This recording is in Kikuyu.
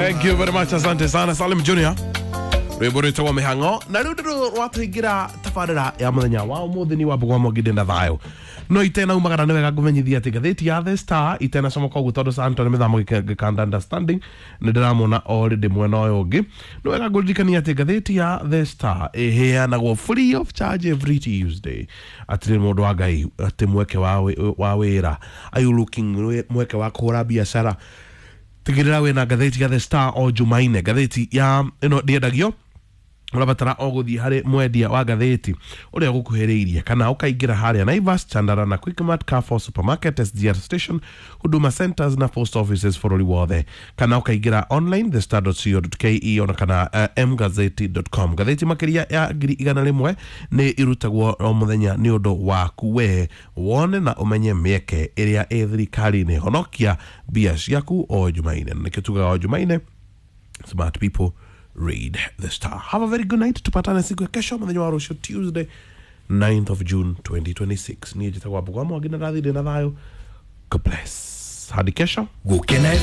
Thank you very much, asante sana Salim Junior. Rwĩmbo rwĩtagwo mĩhang'o na rĩu ndĩrũ rwatũingĩra tabarĩra ya mũthenya wa ũmũthĩ nĩ wambũgwa mwanginde na thayũ no itenaumagara nĩ wega ngũmenyithia atĩ ngathĩti ya The Star itenacomoka ũguo tondũ Santo nĩ mĩthamo gĩkanda understanding nĩ ndĩramwona already mwena ũyũ ũngĩ. Nĩ wega ngũririkania atĩ ngathĩti ya The Star ĩheanagwo free of charge every Tuesday. Atĩrĩ mũndũ wa Ngai, atĩ mweke wa wĩra, are you looking mweke wa kũhũra biacara? Tigĩrĩra wĩna ngathĩti ya The Star o Jumaine. Ngathĩti ya ĩno ndĩendagio, ũrabatara o gũthiĩ harĩ mwendia wa ngathĩti ũrĩa ũgũkuhĩrĩirie kana ũkaingĩra harĩa Naivas, Chandara na Quickmart, Carrefour Supermarket, SGR Station, Huduma Centers na post offices bũrũri wothe, kana ũkaingĩra online thestar.co.ke ona kana mgazeti.com. Ngathĩti makĩria ya 100,000 nĩ irutagwo o mũthenya nĩ ũndũ waku we wone na ũmenye mĩeke ĩrĩa ĩ thirikari-inĩ. Honokia mbia ciaku o Jumaine, na nĩkĩo tugaga o Jumaine, smart people read The Star. Have a very good night. Tupatane siku ya kesho, mũthenya wa rũciũ, Tuesday 9th of June 2026. Niĩ njĩtagwo Wambũgwa Mwangi na ndathire na thayũ. God bless hadi kesho. Gukena.